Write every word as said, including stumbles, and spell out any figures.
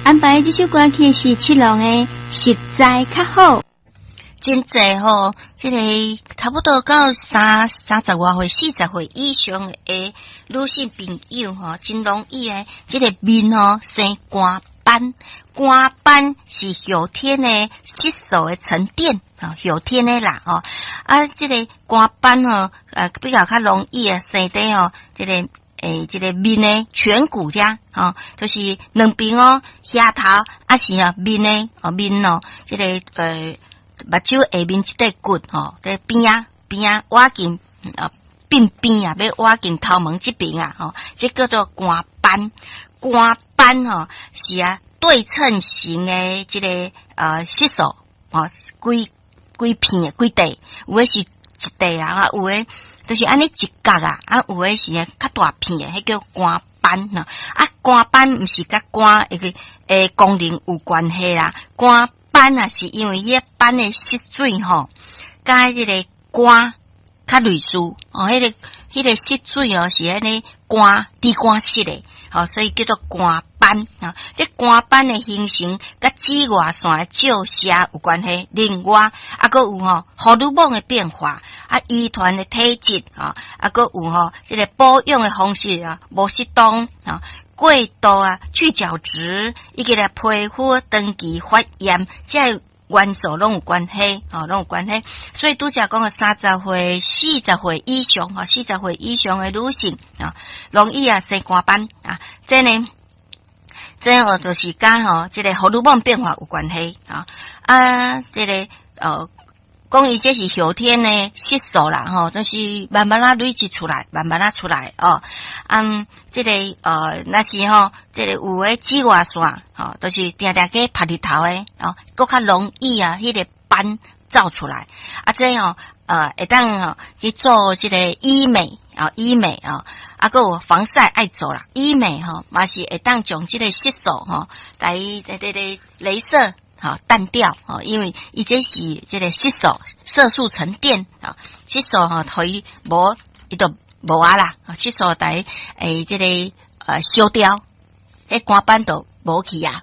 安排這首歌曲是七龍的《實在較好》。真濟吼，這個差不多到三三十外歲、四十歲以上的女性朋友吼，真容易的這個面吼生肝斑。肝斑是後天的色素的沉澱，後天的啦吼。啊，這個肝斑吼，呃，比較較容易啊生佇吼，這個欸，這個面的顴骨遮，吼，就是兩邊哦，額頭，抑是啊面的哦面哦，這個呃。目睭下面這塊骨吼，這邊仔邊仔倚近啊鬢邊啊，欲倚近頭毛這邊啊，吼，這叫做肝斑。肝斑吼是啊對稱型的這個呃色素，吼，幾幾片的幾塊，有的是一塊啊，有的就是按呢一角啊，啊有的是較大片的，彼叫肝斑呐。啊，肝斑毋是佮肝的欸功能有關係啦，肝斑啊，是因為彼個斑的色水吼，佮這個肝較類似哦，彼個彼個色水哦是按呢肝豬肝色的，吼，所以叫做肝斑啊。這肝斑的形成佮紫外線的照射有關係，另外啊，閣有吼荷爾蒙的變化，啊，遺傳的體質啊，啊，閣有吼這個保養的方式啊，無適當啊。過度啊，去角質，以及咧皮膚長期發炎，這個元素攏有關係，吼，攏有關係。所以拄才講的三十歲、四十歲以上，吼，四十歲以上的女性啊，容易啊生肝斑啊，這呢，這哦就是佮吼這個荷爾蒙變化有關係啊啊，這個呃。講伊這是後天的色素啦，吼，就是慢慢仔累積出來，慢慢仔出來哦。嗯，這個呃，若是吼，這個有的紫外線，吼，就是定定去曬日頭的，哦，閣較容易啊，彼個斑走出來。啊，這吼，呃，會當吼去做這個醫美啊，醫美啊，啊，閣有防曬愛做啦，醫美吼嘛是會當將這個色素吼，來這個鐳射。吼淡掉吼，因為伊這是這個色素色素沉澱啊，色素吼，予伊無伊就無啊啦，色素來欸這個呃消掉，彼肝斑就無去啊。